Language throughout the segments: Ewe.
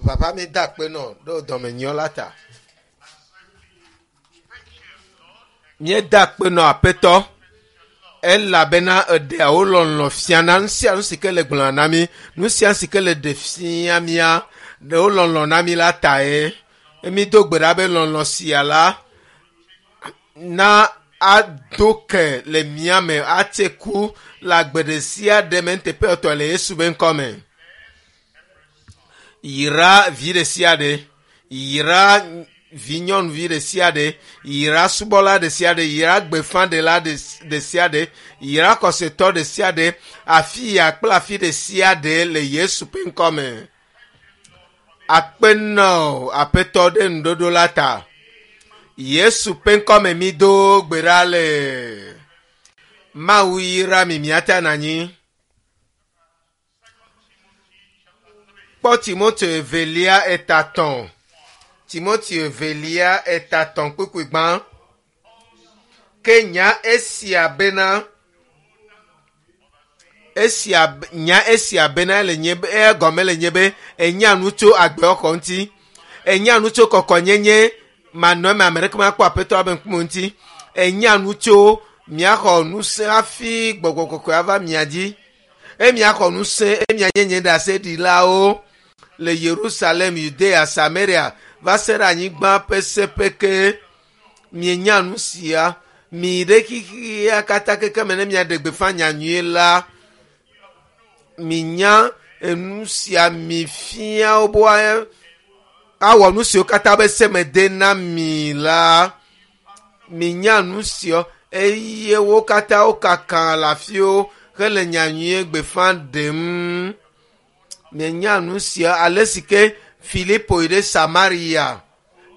Papa mi da akpe nɔ ɖe wò dɔmenyɔ la ta. Míeda akpe nɔ Aƒetɔ elabena eɖea wò lɔlɔ̃ fiana nu sia nu si ke le gblɔna na mí, nu sia nu si ke le ɖe fia mía ɖe wò lɔlɔ̃ na mí la tae. Mído gbe ɖa be lɔlɔ̃ sia la na ado ke le mía me atse ku le agbe ɖe sia ɖe me nuteƒe etɔ le Yesu be ŋkɔ me. Yra vi ɖe sia ɖe, yra vi nyɔnuvi ɖe sia ɖe, yra subɔla ɖe sia ɖe, yra gbeƒãɖela ɖe sia ɖe, yra xɔsetɔ ɖe sia ɖe, afi ya kple afi ɖe sia ɖe le Yesu ƒe ŋkɔ me. Akpe nɔ Aƒetɔ ɖe nuɖoɖo la ta. Yesu ƒe ŋkɔ me mi do gbe ɖa le. Mawu yra mi miate anɔ anyi. Kpɔ Timoteo evelia etatɔ̃. Timoteo evelia etatɔ̃ kpukpui gbã. Ke nya esia bena esia nya esia bena le nye be egɔme le nye be enya nu tso agbexɔxɔ ŋuti. Enya nu tso kɔkɔnyenye manɔ eme ame ɖeke makpɔ aƒetɔ abe ŋkume ŋuti. Enya nu tso miaxɔ ŋusẽ hafi gbɔgbɔ kɔkɔe ava mia dzi. Eye miaxɔ ŋusẽ eye mianye nye ɖaseɖilawo le Yerusalem, Yudea, Samaria va se ɖe anyigba ƒe seƒe ke. Mienya nu sia. Mi ɖe xexea katã keke me ne miaɖe gbeƒã nyanyui la. Minya enu sia mi fia wo be awɔ nu siwo katã be se me de na mi la. Minya nu sia eye wo katã wokaka le afiwo hele nyanyui gbeƒã ɖem. Mienya nu sia ale si ke Filipo yi ɖe Samaria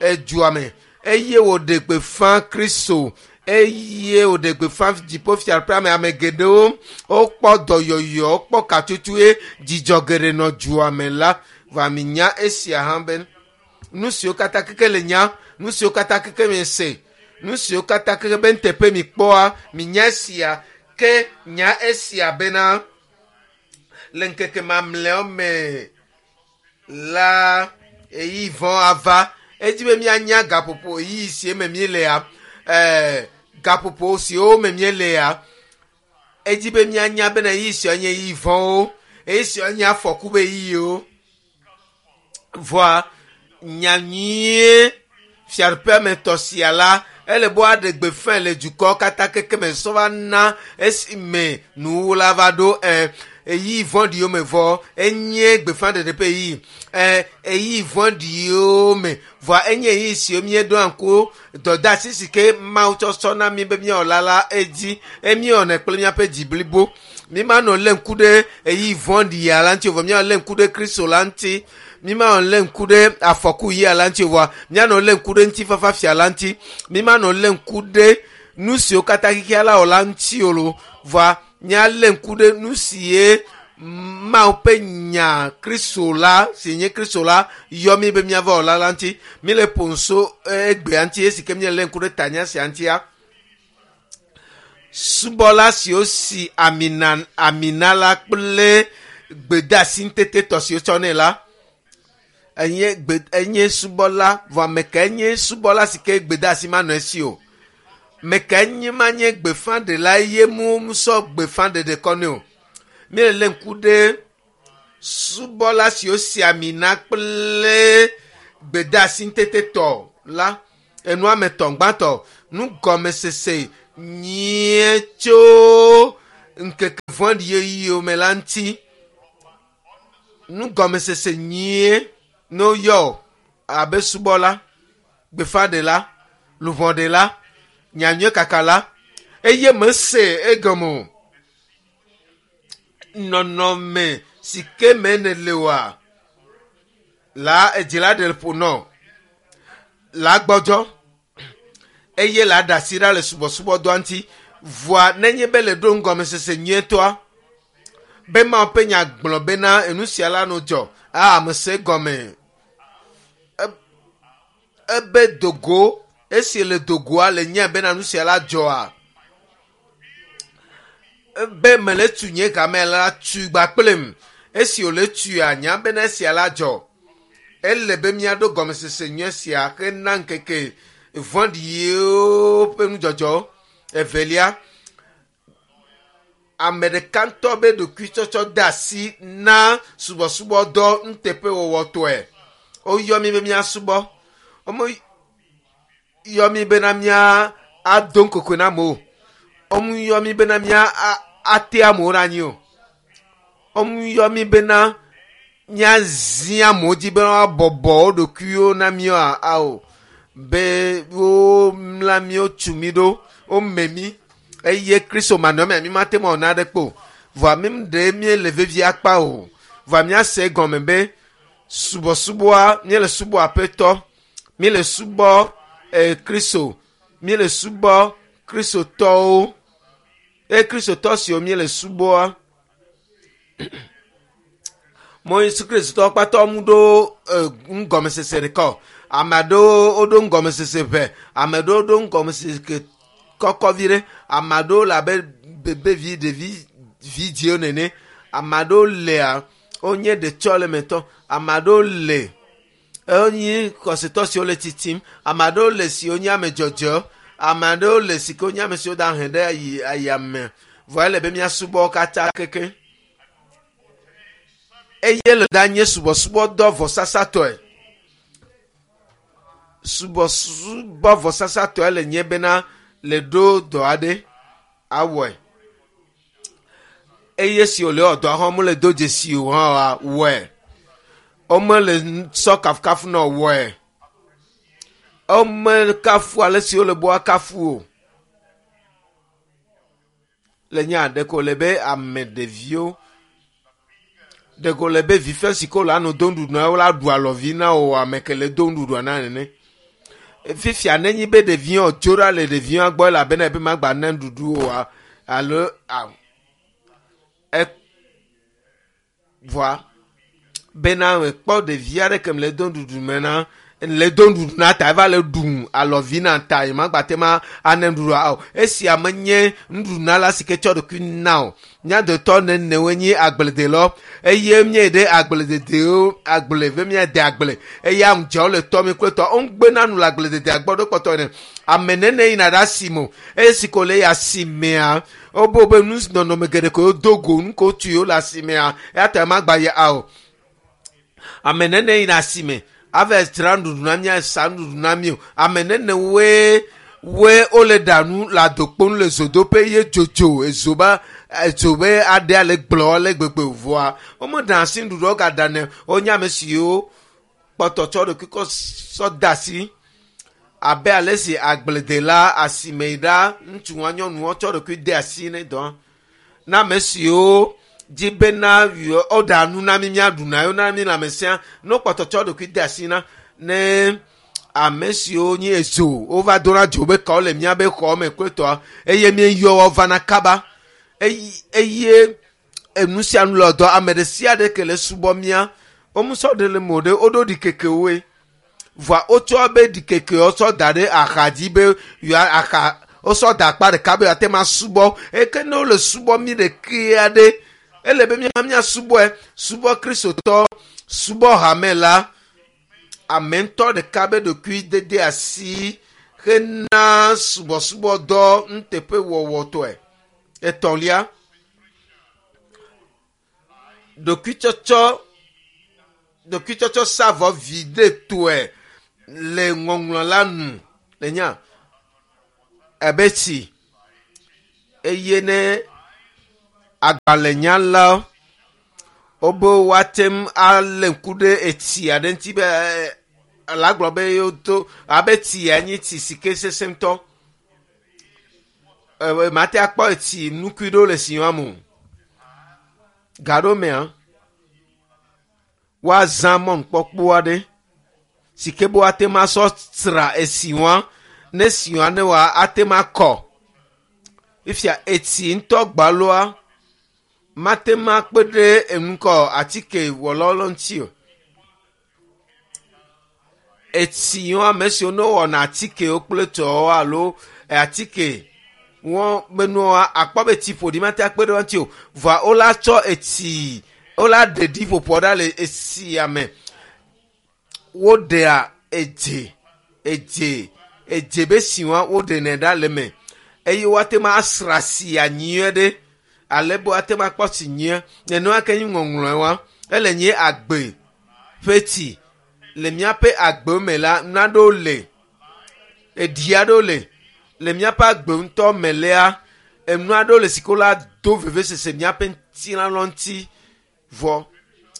edua me eye wòɖe gbeƒã Kristo eye wòɖe gbeƒã dziƒofiaɖuƒea me ame geɖewo wokpɔ dɔyɔyɔ wokpɔ katutue dzidzɔ geɖe nɔ dua me la va minya esia hã be nu siwo katã keke le nya nu siwo katã keke mi se nu siwo katã keke be nteƒe mi kpɔa minya esia ke nya esia bena le ŋkeke mamlɛawo me la eyi vɔ ava edzi be míanya gaƒoƒo ɣeyiɣi si me míelea ɛɛ gaƒoƒo siwo me míelea edzi be míanya bena ɣeyiɣi siawo nye ɣeyiɣi vɔ̃wo ɣeyiɣi siawo nye afɔku be ɣeyiɣiwo vɔa nyanyuie fiaɖuƒea me tɔ sia la ele be woaɖe gbeƒãe le dukɔwo katã keke me sɔ va na esime nuwuwu la va ɖo ɛ ɣeyiɣi vɔ̃ɖiwo me vɔ enye gbeƒãɖeɖe ƒe ɣeyiɣi ɛ ɣeyiɣi vɔ̃ɖiwo me vɔa enye ɣeyiɣi siwo míeɖoa ŋku dɔdeasi si ke Mawu tsɔ sɔ na mí be míawɔ la la edzi eye míewɔnɛ kple míaƒe dzi blibo. Mímanɔ lé ŋku ɖe ɣeyiɣi vɔ̃ɖia la ŋuti o vɔ míanɔ lé ŋku ɖe Kristo la ŋuti. Mímanɔ lé ŋku ɖe afɔku ɣia la ŋuti o vɔa míanɔ lé ŋku ɖe ŋutifafa fia la ŋuti. Mímanɔ lé ŋku ɖe nu siwo katã xexea la wɔ la ŋuti o lo vɔa míalé ŋku ɖe nu sie Mawu ƒe nya Kristo la si nye Kristo la yɔ mí be míava wɔ la la ŋuti. Míle ƒo nu egbea ŋuti esi ke míelé ŋku ɖe tanya sia ŋutia. Subɔla siwo si amina amina la kple gbedeasi ŋutetetɔ si wotsɔ nɛ la enye gbe enye subɔla vɔ ame kae nye subɔla si ke gbedeasi manɔ esi o. Ame kae nye manye gbeƒãɖela eye musɔ gbeƒãɖeɖe kɔ nɛ o. Míele lé ŋku ɖe subɔla siwo si ami na kple gbedeasi ŋutetetɔ la enua me tɔ gbãtɔ nugɔmesese nyuie tso ŋkeke vɔ̃ɖi ɣeyiɣiwo me la ŋuti. Nugɔmesese nyuie ne woyɔ abe subɔla, gbeƒãɖela, luʋɔɖela, nyanyui kakala eye mese egɔme o. Nɔnɔme si ke me nèle oa la edzi la ɖe ƒo nɔ la gbɔdzɔ eye la ɖe asi ɖa le subɔsubɔdɔa ŋuti. Vɔa nenye be le ɖo nugɔmesese nyuietɔa be Mawu ƒe nya gblɔ bena enu sia la no dzɔ a ame se gɔme. Ebe dogo esi le dogoa le nya bena nu sia la dzɔa be mele tu nye game la tu gba kplem esi wòle tuia nya bena esia la dzɔ. Ele be míaɖo gɔmesese nyuie sia hena ŋkeke vɔ̃ɖiwo ƒe nudzɔdzɔ. Evelia, ame ɖeka ŋutɔ be ɖokuitsɔtsɔ de asi na subɔsubɔdɔ nuteƒewɔwɔtɔe. Woyɔ mí be míasubɔ. Womeyɔ mí bena mía ado ŋkokoe na amewo o. Womeyɔ mí bena mía ate amewo ɖe anyi o. Womeyɔ mí bena míazi amewo dzi be woabɔbɔ wo ɖokuiwo na mí o. Be womla mí, wotu mí ɖo, wome mí eye Kristo manɔmea mí mate ŋu awɔ naɖeke o. Vɔa mí ɖe míele vevie akpa o. Vɔa míase egɔme be subɔsubɔa míele subɔ Aƒetɔ, míele subɔ Kristo, míele subɔ Kristotɔwo eye Kristotɔ siwo míele subɔa mo Yesu Kristotɔwo kpata mu ɖo ŋgɔmesese ɖeka o. Ame aɖewo woɖo ŋgɔmesese ʋɛ, ame aɖewo ɖo ŋgɔmesese kɔkɔ vi ɖe, ame aɖewo le abe bebevi ɖevi vidziwo nene, ame aɖewo lea wonye ɖetsɔlemetɔ, ame aɖewo le wonye xɔsetɔ siwo le tsitsim, ame aɖewo le siwo nye ame dzɔdzɔewo, ame aɖewo le si ke wonye ame siwo da hɛ ɖe ayi ayame. Vɔ ele be míasubɔ wo katã keke. Eye le da nye subɔsubɔdɔ vɔsasatɔe. Subɔsubɔ vɔsasatɔe le nye bena le ɖo dɔ aɖe awɔe. Eye si wòle wɔ dɔa hã womele do dzesi o hã wɔe. Womele sɔ kafukafu nɔ wɔe. Womekafu ale si wole be woakafu o. Le nya ɖeko wòle be ame ɖeviwo ɖeko wòle be vife si ke wole anɔ do nuɖuɖu na wo la ɖu alɔvi na wo ame ke le do nuɖuɖua na nene. Fifia nenye be ɖeviwo tso ɖa le ɖeviwo gbɔ elabena ebe magba na nuɖuɖu oa alo a vɔa bena mekpɔ ɖevi aɖe ke le do nuɖuɖu me na le do nuɖuɖu na ta eva le ɖum alɔvi na ta yi magba te ma ane nuɖuɖua o. Esia menye nuɖuɖunala si ke tsɔ ɖokui na o. Mía dometɔ nenewoe nye agbledelawo eye míeyi ɖe agblededewo agble be míade agble eye aŋudzewo le tɔ mi kple tɔ. Woŋgbena nu le agblededea gbɔ ɖo kpɔtɔ ene. Ame nene yina ɖe asime o eye si ko le yi asimea wobe be nu nɔnɔme geɖe ko wodo go nu ko wotu yewo le asimea eya ta magba yi o. Ame nene yina asime ava dzra nuɖuɖu na mí asa nuɖuɖu na mí o. Ame nene woe woe wole ɖa nu le adokpo nu le zodoƒe ye dzodzo ezo ba edzo be aɖea le gblɔ le gbegbe vɔa womeɖa asi nuɖuɖu gaɖanɛ wonye ame siwo kpɔtɔ tsɔ ɖokui kɔ sɔ de asi abe ale si agbledela asime yi ɖa ŋutsuwoa nyɔnuwo tsɔ ɖokui de asi ne dɔ na ame siwo dzi bena woɖa nu na mí míaɖu na yewo na mí lãmesẽa ne wokpɔtɔ tsɔ ɖokui de asi na ne ame siwo nye ezo wova dona dzo be kawo le míabe xɔ me kple tɔa eye míeyɔ wo vana kaba eye enu sia nu le dɔ ame ɖe sia ɖe ke le subɔ mía womusɔ ɖe le mo ɖe woɖo ɖikekewoe vɔa wotsɔ be ɖikekewo tsɔ da ɖe axa dzi be yewoa axa wosɔ da akpa ɖeka be yewoate ma subɔ eke ne wole subɔ mí ɖekea ɖe ele be mía míasubɔe subɔ kristotɔ subɔ hame la ame ŋutɔ ɖeka be ɖokui dede asi hena subɔsubɔdɔ nuteƒewɔwɔtɔe. Etɔ̃lia, ɖokuitsɔtsɔ ɖokuitsɔtsɔ sa vɔ viɖetɔe le ŋɔŋlɔ la nu le nya abe tsi eye ne agbalẽnyala wobe woate ŋu alé ŋku ɖe etsi aɖe ŋuti be la gblɔ be yewodo abe tsia nye tsi si ke sesẽ ŋutɔ. Mate akpɔ etsi nukui ɖewo le tsi me o. Gaɖomea, woazã mɔnukpɔkpɔ aɖe si ke be woate ŋu asɔ sra etsi wa ne tsi wa ne wa ate ŋu akɔ. Fifia etsi ŋutɔ gbaloa mate ŋu akpe ɖe enukɔ atike wɔlawo ŋuti o. Etsi yiwo ame siwo ne wɔna atikewo kple tɔwo alo atike wɔn be nua akpɔ be tsi ƒoɖi mate akpe ɖe wo ŋuti o. Vɔa wola tsɔ etsi wola ɖe ɖiƒoƒoa ɖa le etsia me. Woɖea edze edze edze be siwa woɖenɛ ɖa le me eye woate ma asra sia nyuie ɖe ale be woate ma akpɔ si nyuie. Nenema ke nyi ŋɔŋlɔe wa ele nye agbe ƒe tsi le míaƒe agbe me la naɖewo le eɖi aɖewo le le míaƒe agbe ŋutɔ me lea enu aɖewo le si ke la do vevesese míaƒe ŋutilã ŋuti vɔ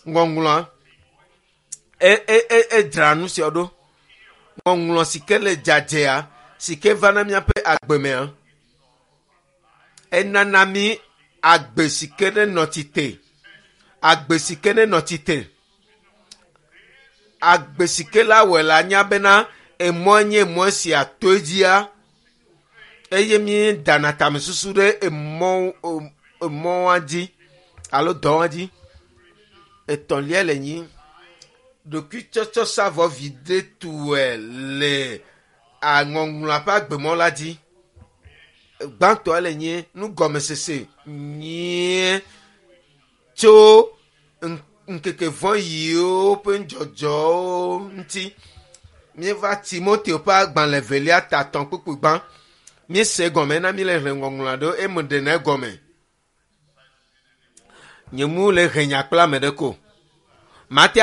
ŋɔŋlɔa e e e edzra nu sia ɖo ŋɔŋlɔ si ke le dzadzea si ke va na míaƒe agbe mea enana mí agbe si ke ne nɔ tsite agbe si ke ne nɔ tsite agbe si ke la wɔe la nya bena emɔ nye emɔ sia to edzia eye mi dana tamesusu ɖe emɔ emɔa dzi alo dɔa dzi etɔ̃lia le nyi ɖokuitsɔtsɔsavɔ viɖe tue le aŋɔŋlɔa ƒe agbemɔ la dzi gbãtɔa le nye nugɔmesese nyuie tso ŋkeke vɔ yiwo ƒe nudzɔdzɔwo ŋuti míeva timoteo ƒe agbalẽ velia tatɔ̃ kpukpui gbã míese gɔme na míle hlẽ ŋɔŋlɔ aɖewo eme ɖena egɔme nye mu le he nya kple ame ɖe ko mate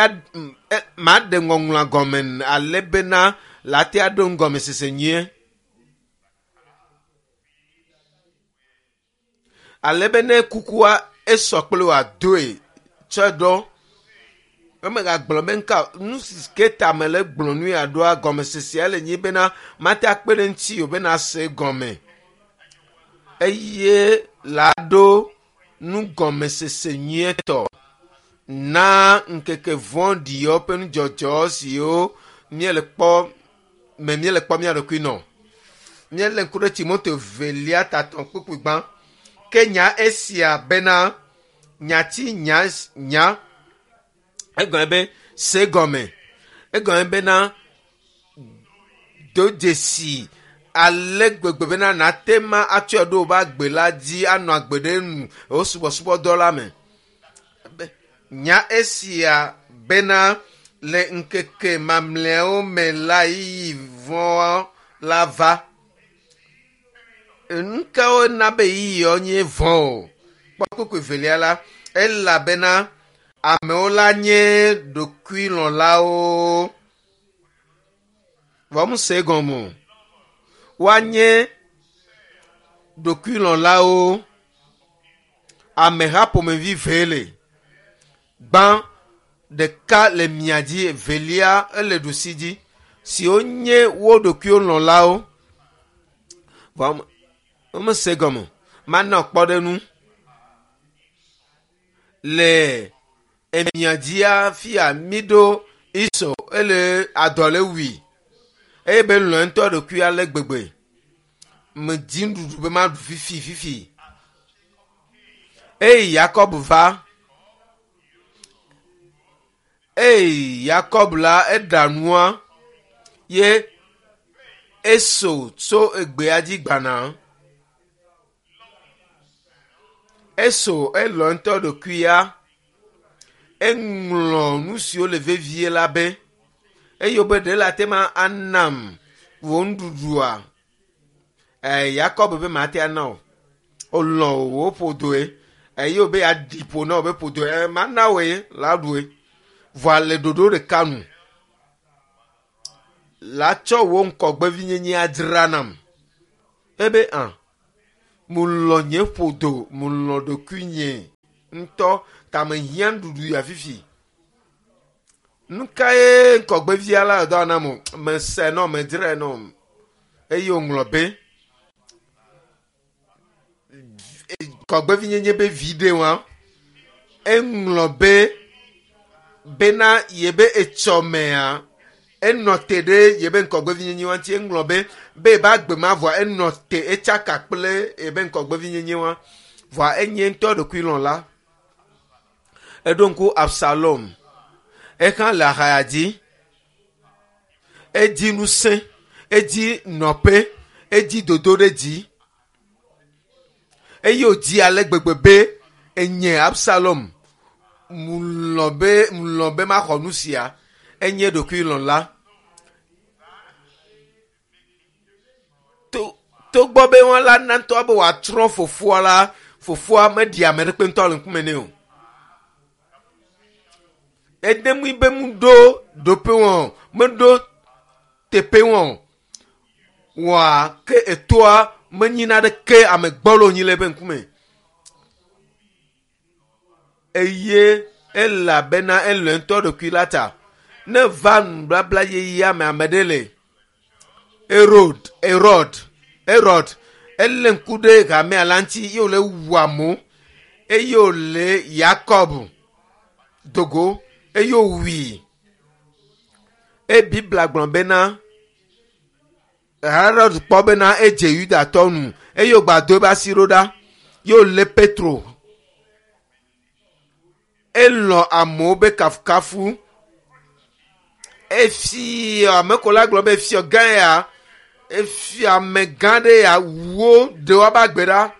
maɖe ŋɔŋlɔa gɔme ale bena late aɖo ŋgɔmesese nyuie ale be ne kukua esɔ kple wòadoe tsɔe ɖɔ emegagblɔ be nka nu si ke ta me le gblɔ nu ya ɖoa gɔmesesea le nyi bena mate akpe ɖe ŋuti o bena se gɔme eye la ɖo nugɔmesese nyuietɔ na ŋkeke vɔ̃ɖiwo ƒe nudzɔdzɔ siwo míele kpɔ me míele kpɔ mía ɖokui nɔ míele ŋku ɖe timoteo velia tatɔ̃ kpukpui gbã ke nya esia bena nyati nya nya egɔme be se gɔme egɔme bena do dzesi ale gbegbe bena nate ma atsɔe ɖo woƒe agbe la dzi anɔ agbe ɖe nu wo subɔsubɔdɔ la me nya esia bena le ŋkeke mamlɛawo me la yiyi vɔ̃ la va nu kawo na be yiyiawo nye vɔ̃ o kpɔ kpukpui velia la elabena amewo la nye ɖokuilɔ̃lawo vɔ muse gɔme o woanye ɖokuilɔ̃lawo ameha ƒomevi ve le gbã ɖeka le mia dzi evelia ele ɖusi dzi siwo nye wo ɖokuiwo lɔ̃lawo vɔ womese gɔme o mana kpɔɖeŋu le emia dzia fia mi ɖo esau ele adɔ le wui eye be lɔ̃ ŋutɔ ɖokui ale gbegbe medzi nuɖuɖu be maɖu fifi fifi eye yakob va eye yakob la eɖa nua ye esau tso egbea dzi gbana esau elɔ ŋutɔ ɖokuia eŋlɔ nu siwo le vevie la be eye wobe ɖe le ate ma anam wò nuɖuɖua e yakob be mate ana o olɔ wò ƒodoe eye wobe yeaɖi ƒo na wò be ƒodoe e mana wòe la ɖue vɔa le ɖoɖo ɖeka nu la tsɔ wò ŋkɔgbevinyenye adzra nam ebe hã mulɔ nye ƒodo mulɔ ɖokuinye ŋutɔ ta mehiã nuɖuɖu ya fifi nu kae ŋkɔgbevia la dɔ nam o mese nɔ medzrae nɔ eye wòŋlɔ be ŋkɔgbevinyenye be vi ɖe wa eŋlɔ be bena yebe etsɔmea enɔ te ɖe yebe ŋkɔgbevinyenye wa ŋuti eŋlɔ be be yebe agbe ma vɔa enɔ te etsaka kple yebe ŋkɔgbevinyenye wa vɔa enye ŋutɔ ɖokuilɔ̃la eɖo ŋku absalom ehã le ahaya dzi edzi ŋusẽ edzi nɔƒe edzi dodo ɖe dzi eye wòdzi ale gbegbe be enye absalom mulɔ be mulɔ be maxɔ nu sia. Enye ɖokuilɔ̃la. To togbɔ be wɔn la na ŋutɔ be wòatrɔ fofoa la, fofoa meɖi ame ɖekpe ŋutɔ le ŋkume nɛ o. Ede mui be mu ɖo ɖoƒe wɔn, meɖo teƒe wɔn wɔa ke etoa menyi naɖeke ame gbɔlo nyi le eƒe ŋkume. Eye elabena elɔ̃ ŋutɔ ɖokui la ta. Ne va nubabla yeyea me ame ɖe le Herod, Herod, Herod, elé ŋku ɖe hamea la ŋuti ye wòle wu amewo eye wòle Yakob dogo eye wòwui. Eye Biblia gblɔ bena Herod kpɔ bena edze Yudatɔ nu eye wògbado eƒe asi ɖo ɖa ye wòlé Petro. Elɔ̃ amewo be kafukafu. Efia ame ko la gblɔ be efia gã ya, efia amegã ɖe ya wu wo ɖe woabe agbe ɖa.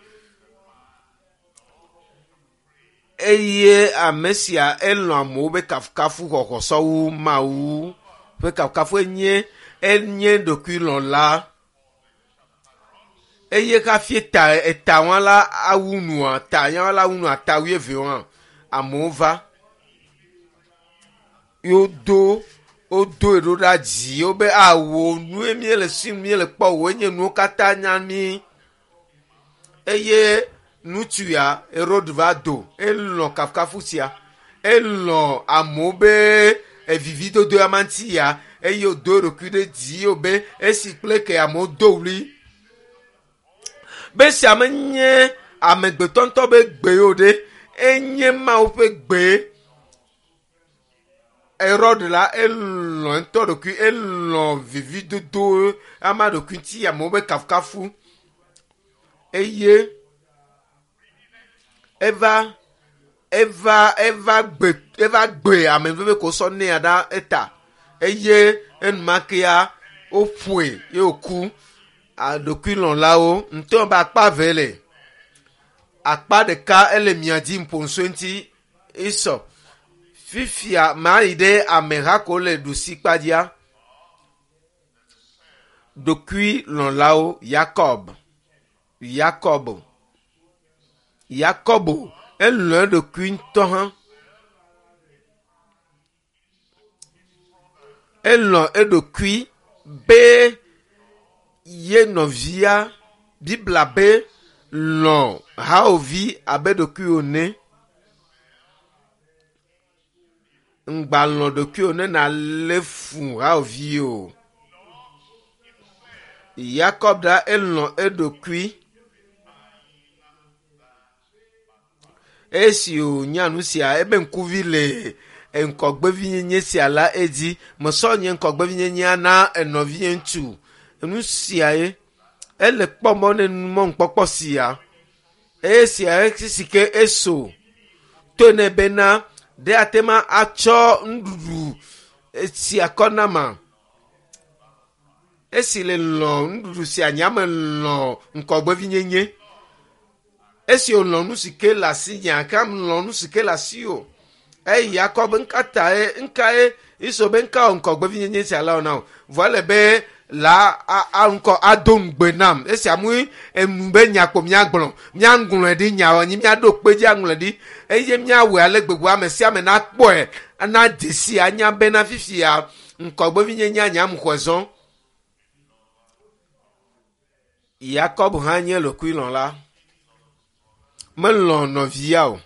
Eye ame sia elɔ̃ amewo be kafukafu xɔxɔ sɔwu Mawu ƒe kafukafu enye enye ɖokuilɔ̃la. Eye hafi eta eta wɔn la awu nua ta ya la awu nua ta wuieve wɔn amewo va. Wodo wodoe ɖo ɖa dzi wobe awo nue míele si míele kpɔ o enye nuwo katã nya mí. Eye ŋutsu ya Herod va do elɔ̃ kafukafu sia elɔ̃ amewo be evividodo ya ma ŋuti ya eye wòdo eɖokui ɖe dzi wobe esi kple ke amewo do ɣli. Be sia menye amegbetɔ ŋutɔ be gbe o ɖe enye Mawu ƒe gbe. Herod la elɔ̃ ŋutɔ ɖokui elɔ̃ vividodo ama ɖokui ŋuti amewo be kafukafu eye eva eva eva gbe eva gbe ame veve ko sɔ nea ɖa eta eye enumakea woƒoe ye wòku. Ɖokuilɔ̃lawo ŋutɔ be akpa eve le. Akpa ɖeka ele mia dzi ƒo ŋuti esɔ. Fifia mayi ɖe ameha ko le ɖusi kpadzia. Ɖokuilɔ̃lawo Yakob, Yakob, Yakobo elɔ̃ eɖokui ŋutɔ hã. Elɔ̃ eɖokui be ye nɔvia Biblia be lɔ̃ hawòvi abe ɖokuiwò ene. Ŋgba lɔ̃ ɖokuiwò ne nàlé fu hawòvi o. Yakob ɖa elɔ̃ eɖokui. Esi wònya nu sia ebe ŋkuvi le ŋkɔgbevinyenye sia la edzi. Mesɔ nye ŋkɔgbevinyenyea na enɔvie ŋutsu. Nu siae ele kpɔ mɔ ne mɔnukpɔkpɔ sia. Esia si ke eso to nɛ bena ɖe ate ma atsɔ nuɖuɖu sia kɔ na ma. Esi le lɔ̃ nuɖuɖu sia nye ame lɔ̃ ŋkɔgbevinyenye. Esi wòlɔ̃ nu si ke le asinyea ke lɔ̃ nu si ke le asiwò. Eye Yakob ŋka tae ŋkae Esau be ŋka wɔ ŋkɔgbevinyenye sia la wɔ na wò. Vɔ ele be la a ŋkɔ ado ŋugbe nam. Esi amu enu be nya kpo míagblɔ. Míaŋlɔe ɖi nya nyi míaɖo kpe dzi aŋlɔe ɖi eye míawɔe ale gbegbe ame sia ame nakpɔe ana dzesi anya bena fifia ŋkɔgbevinyenye anya mu xɔe zɔ. Yakob hã nye ɖokuilɔ̃la. Melɔ̃ nɔvia o.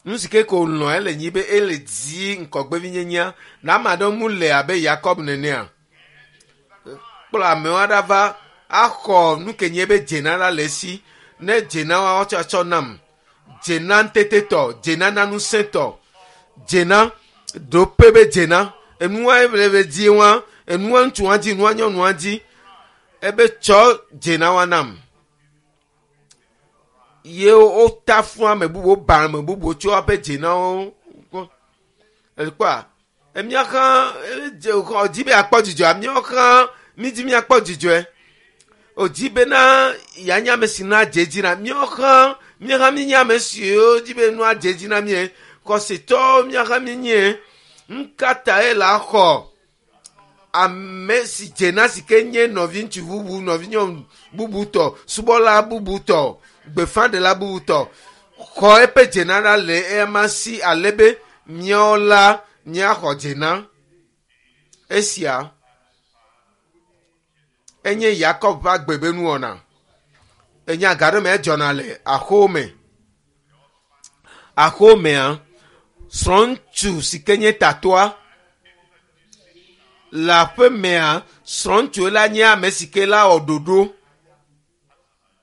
Nu si ke ko lɔ̃ ele nyi be ele di ŋkɔgbevinyenyea na ame aɖewo mu le abe Yakob nenea. Kplɔ amewo aɖe va axɔ nu ke nye be dzena la le esi. Ne dzena wa woatsɔ atsɔ nam. Dzena ŋutetetɔ, dzena na ŋusẽtɔ, dzena ɖoƒe be dzena. Enua le be di wa, enua ŋutsua dzi, enua nyɔnua dzi. Ebe tsɔ dzena wa nam. Ye wota fún ame bubuwo, ba ame bubuwo tso woƒe dzenawo gbɔ. Ekpɔa, emía hã dze xɔ dzi be akpɔ dzidzɔa, míawo hã mídzi míakpɔ dzidzɔe. Wòdzi bena yeanye ame si nua dze edzi na míawo hã míawo hã míenye ame siwo dzi be nua dze edzi na mí. Xɔsetɔwo míawo hã míenye. Ŋkata ye la xɔ ame si dzena si ke nye nɔviŋutsu bubu, nɔvinyɔnu bubu tɔ, subɔla bubu tɔ, gbeƒãɖela bubu tɔ, xɔ eƒe dzena ɖa le eyama si ale be míawo la míaxɔ dzena. Esia enye Yakob ƒe agbe be nuwɔna. Enya ga ɖe me edzɔna le axome me. Axomea, srɔ̃ŋutsu si ke nye tatɔa le aƒemea, srɔ̃ŋutsu la nye ame si ke la wɔ ɖoɖo.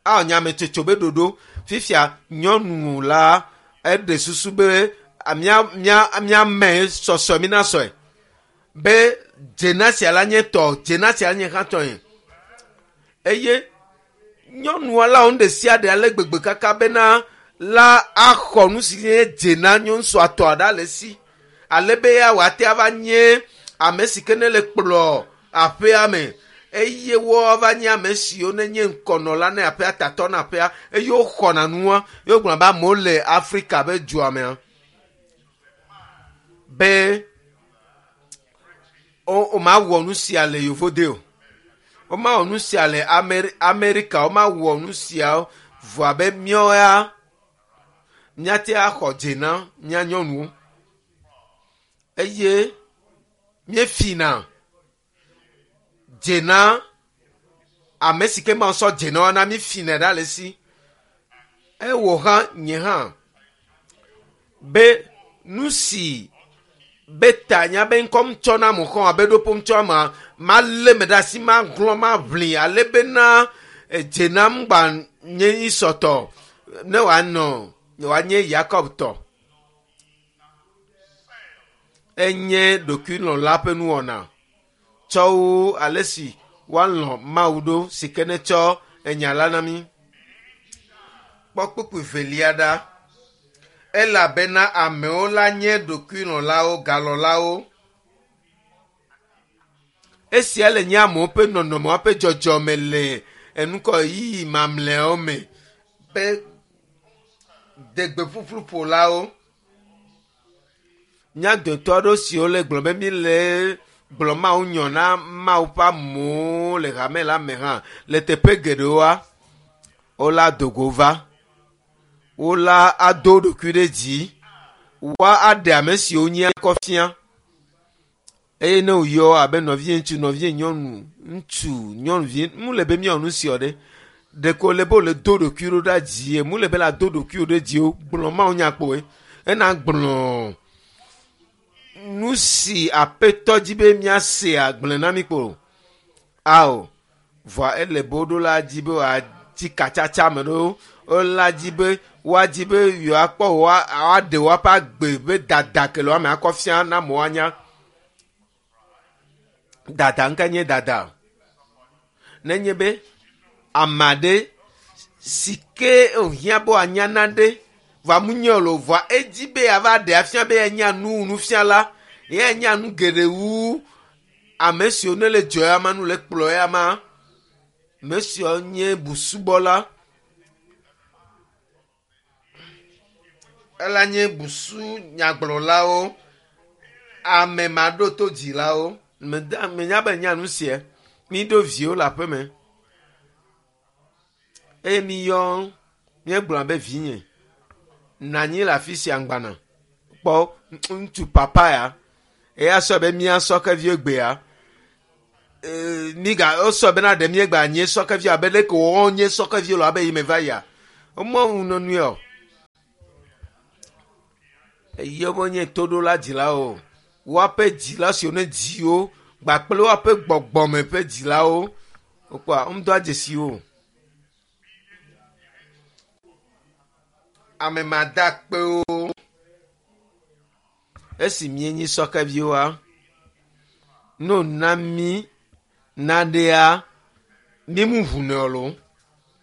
Awɔ nyametsotso be ɖoɖo. Fifia nyɔnu la eɖe susu be mía mía míame sɔsɔe mi na sɔe be dzena sia la nye tɔ, dzena sia nye hã tɔe. Eye nyɔnua la wɔ nu ɖe sia ɖe ale gbegbe kaka bena la axɔ nu si nye dzena nyɔnusua tɔa ɖa le esi ale be ya wòate ava nye ame si ke ne le kplɔ aƒea me eye woava nye ame siwo ne nye ŋkɔnɔla ne aƒea tatɔ na aƒea eye woxɔna nua ye wogblɔna be amewo le Afrika be dua mea be womawɔ nu sia le yovode o. Womawɔ nu sia le Amerika, womawɔ nu sia vɔa be míawo ya míate axɔ dze na mía nyɔnuwo eye míefina dze na ame si ke Mawu sɔ dze na woa na mífinɛ ɖa le esi. Ewɔ hã nye hã be nu si be ta nya be ŋkɔ ŋtsɔ na mo xɔ abe ɖoƒo ŋtsɔ ma malé me ɖe asi maglɔ̃ maʋli ale bena edze nam gba nye Esɔ tɔ ne wòanɔ wòanye Yakob tɔ. Enye ɖokuilɔ̃la ƒe nuwɔna tsɔ wu ale si woalɔ̃ Mawu ɖo si ke netsɔ enya la na mí. Kpɔ kpukpui velia ɖa. Elabena amewo la nye ɖokuilɔ̃lawo, galɔ̃lawo. Esia le nye amewo ƒe nɔnɔme ƒe dzɔdzɔme le enukɔ ɣeyiɣi mamlɛawo me be degbeƒuƒluƒolawo. Mía dometɔ aɖewo siwo le gblɔ be mi le gblɔ Mawu nyɔ na Mawu ƒe amewo le hame la me hã le teƒe geɖewoa, wola dogo va. Wola ado wo ɖokui ɖe dzi. Woa aɖe ame siwo nye kɔ fia. Eye ne woyɔ abe nɔvie ŋutsu, nɔvie nyɔnu, ŋutsu, nyɔnuvi, mu le be míawɔ nu sia ɖe. Ɖeko le be wòle do ɖokui ɖo ɖa dzie. Mu le be la do ɖokuiwò ɖe dzi o. Gblɔ Mawu nya kpoe. Ena gblɔ nu si aƒetɔ dzi be míasea gblɔe na mí kpo. Ao, vɔa ele be woɖo la dzi be wòadzi katsatsa me ɖo. Wola dzi be woadzi be yewoakpɔ woaɖe woaƒe agbe be dada ke le woame akɔ fia na amewo anya. Dada ŋka nye dada. Nenye be ame aɖe si ke wòhiã be wòanya nane vɔa munye o lo vɔa edzi be yeava ɖe afia be yenya nu nufiala, yenya nu geɖe wu ame siwo ne le dzɔ ya ma nu le kplɔ ya ma. Ame siwo nye busubɔla. Ela nye busu nyagblɔlawo, ame maɖoto dzilawo. Menya be nya nu sia. Mi ɖo viwo le aƒeme eye mi yɔ míegblɔ be vinye nɔ anyi le afi sia ŋgbana kpɔ ŋutsu papa ya eya sɔ be mía sɔkeviwo gbea miga wosɔ bena ɖe míegba nye sɔkevi abe leke wɔwɔ nye sɔkeviwo le abe yi me va yia womɔ ŋu nɔnɔe o. Eye wonye toɖola dzilawo o. Woaƒe dzila siwo ne dziwo gbakple woaƒe gbɔgbɔme ƒe dzilawo wokpɔa womedoa dzesi wo o. Ame madakpewo. Esi míenyi sɔkeviwoa, ne wòna mí naɖea, mí mu ʋunɛ o lo.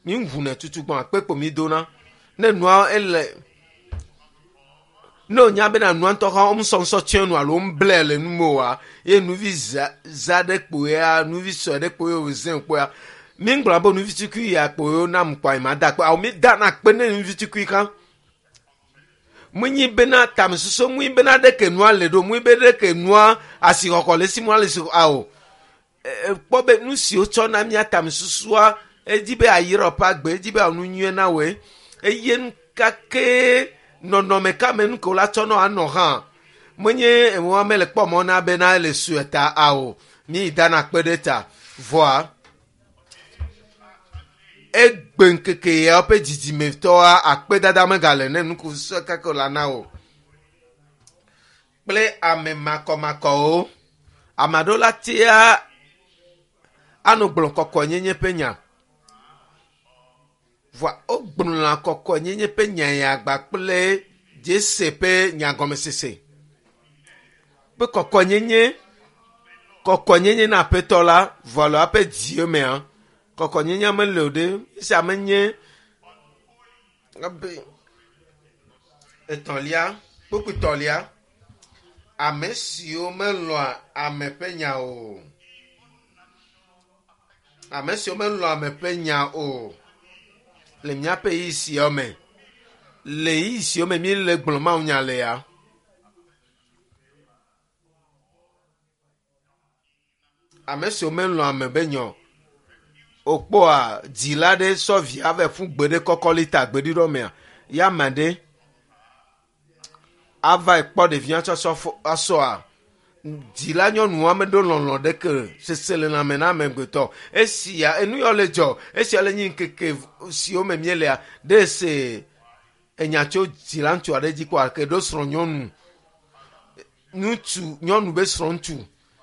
Mí ʋunɛ tutugbɔ akpe kpo mí dona. Ne nua ele ne wònya bena nua ŋutɔ hã womesɔ ŋsɔ nu alo womeblɛ le nu me oa, ye nuvi za za ɖe kpoea, nuvi sue ɖe kpoe wòzẽ kpoea, mí ŋgblɔ be nuvi tukui ya kpoe wonam kpoa ma da akpe. Awo mí dana akpe ne nuvi tukui hã. Menyi bena tamesusu mui bena ɖeke nua le ɖo mui be ɖeke nua asixɔxɔ le si mua le si awo. Kpɔ be nu si wotsɔ na mía tamesusua edzi be ayirɔ ƒe agbe edzi be anu nyuie na woe eye nu ka ke nɔnɔme ka me nu ke wola tsɔ nɔ anɔ hã menye enua mele kpɔ mɔ na bena ele sue ta awo mi dana kpe ɖe ta vɔa egbe ŋkeke ya ƒe dzidzimetɔa akpedada megale ne nuku sue kake la na o kple ame makɔmakɔwo ame aɖewo la tea anɔ gblɔ kɔkɔenyenye ƒe nya vɔa wogblɔna kɔkɔenyenye ƒe nya ya gba kple dzese ƒe nyagɔmesese be kɔkɔenyenye kɔkɔenyenye na aƒetɔ la vɔa le eƒe dziwo mea kɔkɔenyenye mele o ɖe esia menye ebe etɔ̃lia kpukpui tɔ̃lia ame siwo melɔ̃a ame ƒe nya o ame siwo melɔ̃a ame ƒe nya o le míaƒe ɣeyiɣi siawo me le ɣeyiɣi siwo me míele gblɔ Mawu nya le ya ame siwo melɔ̃a ame ƒe nya o wokpɔa dzila ɖe sɔ via va ƒu gbe ɖe kɔkɔlita gbeɖiɖɔ mea ya ame ɖe ava kpɔ ɖevia tsɔtsɔ asɔa dzila nyɔnua meɖo lɔlɔ ɖeke seselelãme na amegbetɔ esia enu yawo le dzɔ esia le nyi ŋkeke siwo me míelea ɖe se enya tso dzila ŋutsu aɖe dzi kpɔa ke ɖo srɔ̃ nyɔnu ŋutsu nyɔnu be srɔ̃ ŋutsu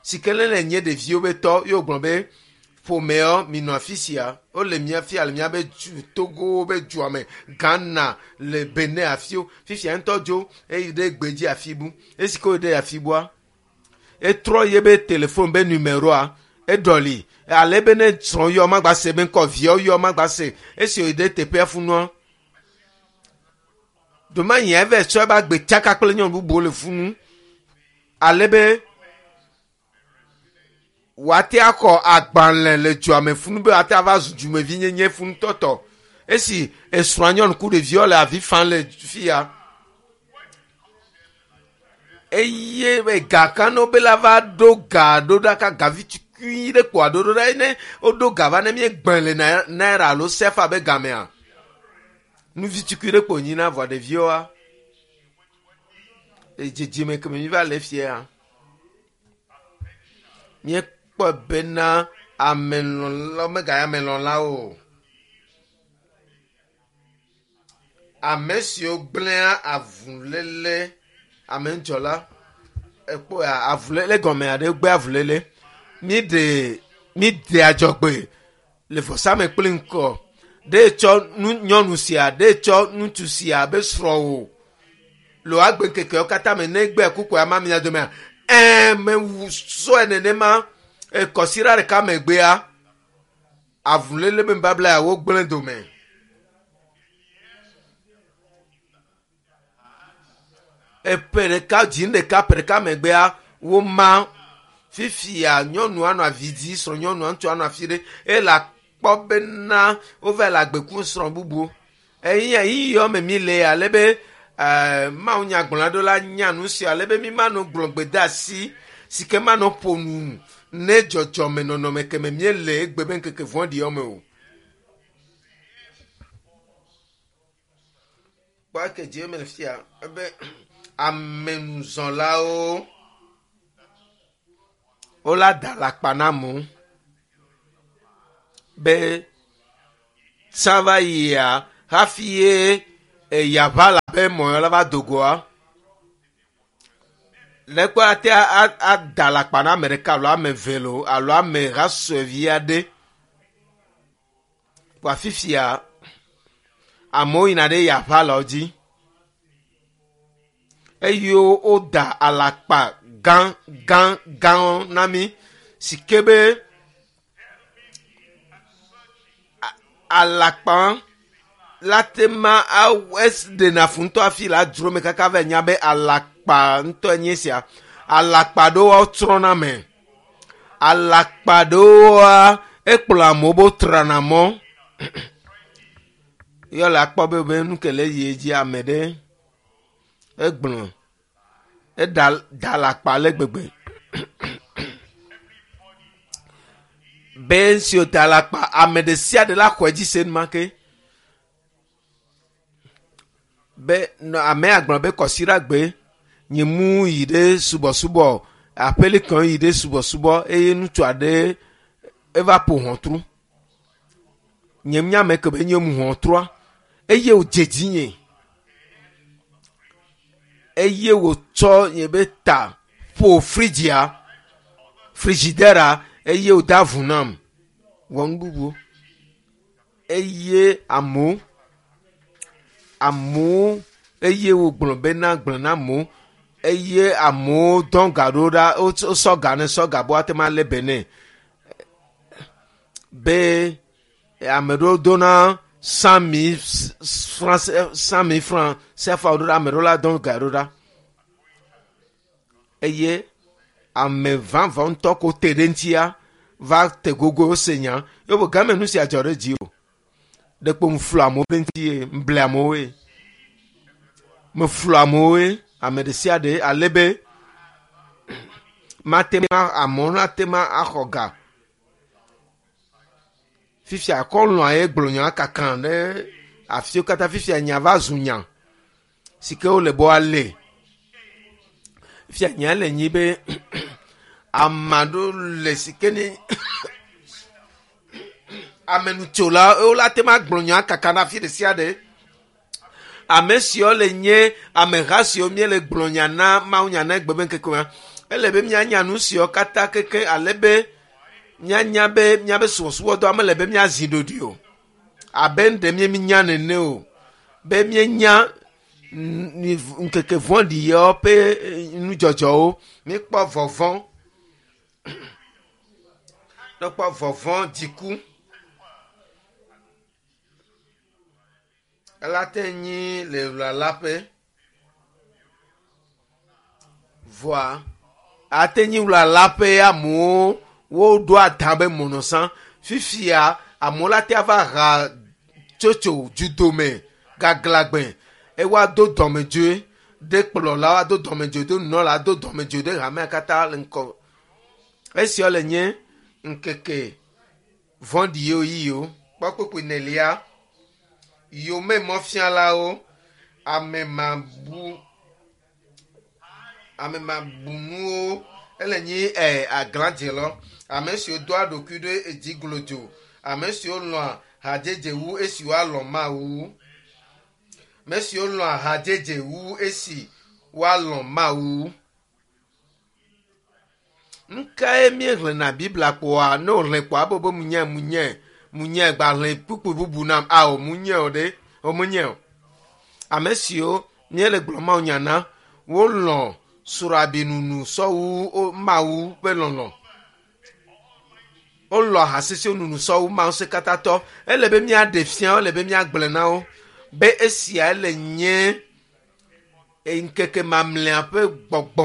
si ke ne le nye ɖeviwo be tɔ ye wògblɔ be ƒomeɔ minɔ afi sia wole mía fia le míabe du Togo be dua me Ghana le Benin afiwo fifia ŋutɔ dzo eyi ɖe gbedzi afi bu esi ke wo ɖe afi bua etrɔ ye be telefon be numéroa eɖɔli ale be ne srɔ̃ yɔ magba se be ŋkɔ viawo yɔ magba se esi wòyi ɖe teƒea funua domanyi eve tsɔ ebe agbe tsaka kple nyɔnu bubuwo le funu ale be wòate akɔ agbalẽ le dua me funu be wòate ava zu dumevinyenye funutɔtɔ esi esrɔ̃a nyɔnu ku ɖeviwo le avi fam le fi ya eye ega ka ne wobe la va ɖo ga ɖo ɖa ka gavi tukui ɖe kpoa ɖo ɖo ɖa ne woɖo ga va ne míegbẽ le naira alo sefa be gamea nuvi tukui ɖe kpo nyina vɔa ɖeviwoa dzidzime keme mi va le fia míekpɔ bena amelɔ̃la meganye amelɔ̃lawo o ame siwo gblẽa avuléle ame ŋudzɔla ekpɔ avuléle gɔme aɖe gbe avuléle míɖe míɖe adzɔgbe le vɔsame kple ŋkɔ ɖe tsɔ nu nyɔnu sia ɖe tsɔ ŋutsu sia be srɔ̃wò le wò agbe ŋkekewo katã me ne egbe kuku ama mia domea ɛɛ mewu sɔe nenema ekɔsiɖa ɖeka megbea avuléle be nubabla ya wogblẽ dome. Eƒe ɖeka dzi ɖeka ƒe ɖeka megbea woma fifia nyɔnua nɔ avi dzi srɔ̃ nyɔnua ŋutsua nɔ afi ɖe eye akpɔ bena wova le agbe kum srɔ̃ bubu eyi eyi yɔ me mi le ale be Mawu nyagblɔla ɖo la nya nu sia ale be mi manɔ gblɔ gbedeasi si ke manɔ ƒo nu ne dzɔdzɔme nɔnɔme ke me míele egbe be ŋkeke vɔ̃ɖi me o. Kpɔ eke dzi me le fia ebe amenuzɔlawo wola da alakpa na amewo be tsã va yia hafi ye eyaʋa la be mɔ la va do goa le kpɔ ate ada alakpa na ame ɖeka alo ame eve lo alo ame hasɔevi aɖe kpɔ fifia amewo yina ɖe yaʋa la dzi eye woda alakpa gã gã gãwo na mí si ke be alakpa la te ma ɖena fu ŋutɔ hafi la dzro me kaka va nya be alakpa ŋutɔ nye sia alakpa ɖewo trɔna me alakpa ɖewoa ekplɔ amewo be wotrana mɔ yɔ le akpɔ be be nu ke le yi dzi ame ɖe. Egblɔ eda da le akpa le gbegbe. Be si wòda le akpa ame ɖe sia ɖe la xɔe dzi se enumake. Be nɔ amea gblɔ be kɔsiɖagbe nye mu yi ɖe subɔsubɔ aƒelikɔ yi ɖe subɔsubɔ eye ŋutsu aɖe eva ƒo ʋɔtru. Nye nya me ke be nye mu ʋɔtrua eye wòdze dzinye eye wòtsɔ nye be ta ƒo fridzia frizidɛra eye wòde avu nam wɔ nu bubu eye amewo amewo eye wògblɔ bena gblɔ na amewo eye amewo dɔn ga ɖo ɖa wosɔ ga ne sɔ ga be woate ŋu alé be nɛ be ame ɖewo dona 100 000 franc 100 000 franc CFA ɖo ɖa ame ɖewo la dɔn ga ɖo ɖa eye ame vavã ŋutɔ ko te ɖe ŋutia va te gogo wose nya ye be game nu sia dzɔ ɖe dzi o ɖekpo mflu amewo ɖe ŋuti ye mble amewoe meflu amewoe ame ɖe sia ɖe ale be mate ŋu amewo nate ŋu axɔ ga fifia akɔlɔa ye gblɔ nya kaka ɖe afiwo katã fifia nya va zu nya si ke wole be woalé fifia nya le nyi be ame aɖewo le si ke ne amenutsola wola te ma gblɔ nya kaka na afi ɖe sia ɖe ame siwo le nye ameha siwo míele gblɔ nya na mawu nya na egbe be ŋkeke ma ele be míanya nu siwo katã keke ale be míanya be míabe subɔsubɔdɔa mele be míazi ɖoɖoe o abe nu ɖe míenya nene o be míenya ŋkeke vɔ̃ɖi yawo ƒe nudzɔdzɔwo míekpɔ vɔvɔ̃ míekpɔ vɔvɔ̃ dziku ela te nyi le wlalaƒe vɔa ate nyi wlalaƒe amewo woɖo adã be mɔnɔsã fifia amewo la te va ha tsotso dzudome gaglagbe eye woado dɔmedzoe ɖe kplɔla woado dɔmedzoe ɖe nunɔla do dɔmedzoe ɖe hamea katã le ŋkɔ esiawo le nye ŋkeke vɔ̃ɖi yiwo yiwo kpɔ kpukpui nelia yome mɔfialawo ame mabu ame mabunuwo ele nyi ɛ aglãdzelɔ ame siwo doa ɖokui ɖe edzi glodzo ame siwo lɔ̃a hadzedze wu esi woalɔ̃ mawu ame siwo lɔ̃a hadzedze wu esi woalɔ̃ mawu nu kae míexlẽna biblia kpoa ne wòxlẽ kpoa ebe be munye munye munye gbaxlẽ kpukpui bubu nam ao munye o ɖe o munye o ame siwo míele gblɔ mawu nya na wolɔ̃ srɔ̃abinunu sɔwu mawu ƒe lɔlɔ̃ wolɔ̃ ahasisiwo nunu sɔwu mawu se katã tɔ ele be míaɖe fia wo ele be míagblẽ na wo be esia le nye ŋkeke mamlɛa ƒe gbɔgbɔ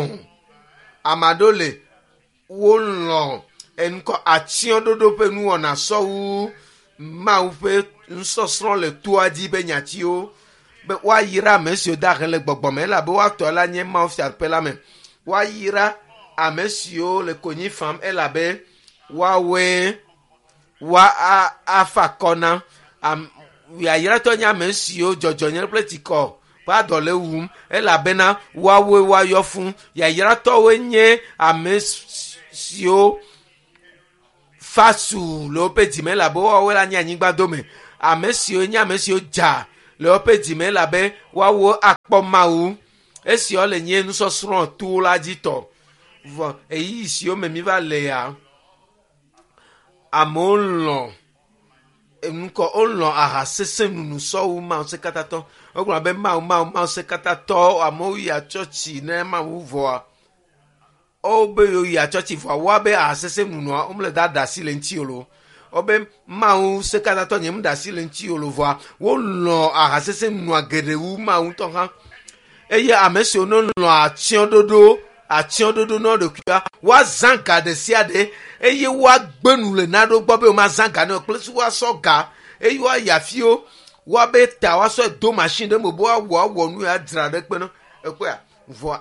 ame aɖewo le wolɔ̃ enukɔ atsyɔ̃ɖoɖo ƒe nuwɔna sɔwu mawu ƒe nusɔsrɔ̃ le toa dzi be nyatiwo be woayra ame siwo da he le gbɔgbɔ me elabe woatɔ la nye mawu fiaɖuƒe la me woayra ame siwo le konyi fam elabe woawoe wa afa akɔ na yayratɔ nye ame siwo dzɔdzɔnyenye kple tsikɔ ƒe adɔ le wum elabena woawoe woayɔ fũ yayratɔwoe nye ame siwo fa su le woƒe dzime elabe woawoe la nye anyigba dome ame siwo nye ame siwo dza le woƒe dzime elabe woawo akpɔ mawu esiawo le nye nusɔsrɔ̃ to la dzi tɔ vɔ ɣeyiɣi siwo me mi va le ya amewo lɔ̃ enukɔ wolɔ̃ aha sesẽ nunu sɔwu mawu se katã tɔ wogblɔ be mawu mawu mawu se katã tɔ amewo yia tsɔtsi ne mawu vɔa wobe yewo yia tsɔtsi vɔa woabe aha sesẽ nunua womele da ɖe asi le ŋuti o lo wobe mawu se katã tɔ nye mu ɖe asi le ŋuti o lo vɔa wolɔ̃ aha sesẽ nunua geɖe wu mawu ŋutɔ hã eye ame siwo ne lɔ̃ atsyɔ̃ɖoɖo atsyɔ̃ɖoɖo na ɖokuia woazã ga ɖe sia ɖe eye woagbe nu le naɖewo gbɔ be womazã ga ne o kple si woasɔ ga eye woayi afiwo woabe ta woasɔe do machine ɖe me be woawɔ awɔ nu ya dzra ɖe kpe na. Ekpɔa vɔa